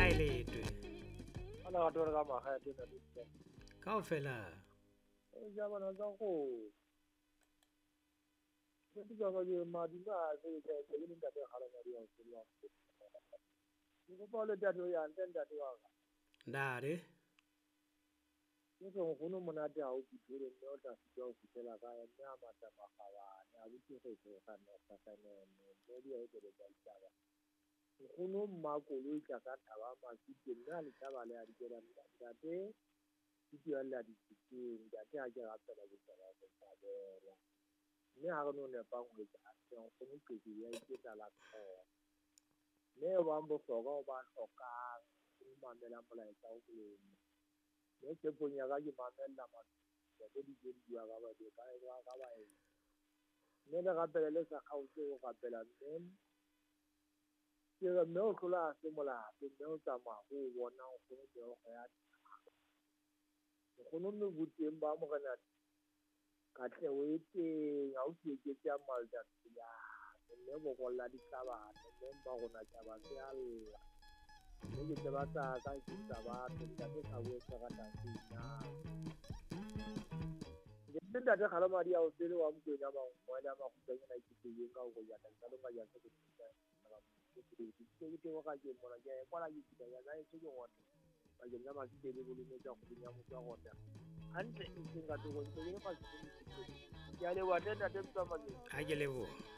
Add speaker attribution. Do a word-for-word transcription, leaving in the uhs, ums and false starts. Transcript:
Speaker 1: Kae letwe?
Speaker 2: Ana ga tore ka magae tena le.
Speaker 1: Kaofela.
Speaker 2: E ja bana tsa go. Ke di ba ke madi ba se ke ke le ntate ga la madi a se lwa. Ke kopa le ntate ya ntate wa ka.
Speaker 1: Ndare.
Speaker 2: Ke se nkgono monate ha o fitlhele mme o tla fitla o fitlhela kae mme a mata magabane a botse go tsoga ne sa ne mme di a e le ditaba. Nkgono mma koloi tla ka thaba masite mme a le taba le a dikela ntate ke di a di tsitseng ntate a ke rapela ke tsela go thabela. Mme ha re no nepang ho etsa hantle nkgono qetsi ya iketsa la tlhoho. Mme e bang bohlokwa o ba hlokang o mamela molaetsa o molemo. Mme tshepong ya ka ke mamella matlo di di bua ka ba di ka ka ba e. Mme le rapele le sa kgaotse ho rapela mme ke re mme o hlola a se molato mme o tsamaya ho bona nkgono meokgo ya nkgono mme boteng ba morena katleho e teng ha o se eketse a malta ya mme bokolla ditlabane mme mma rona tjaba se a lla. Mme ke tseba tsa ka ke tsa batho ntate sa bue se ratang se ina. Ke ntate Kgalomadi a o tsele wa Mokwena mangwele a makgutshwanyana ke teng ka ho ya ka longa ya se ke ke ke ke ka ke mona ke kwala ke kita ya ka se ke ngotla bakeng la masite le bolometsa kgweding ya motho wa rona hantle e seng ka toko ntse ke le masite ke a leboha tle ntate Mtsamane.
Speaker 1: Ha ke leboha.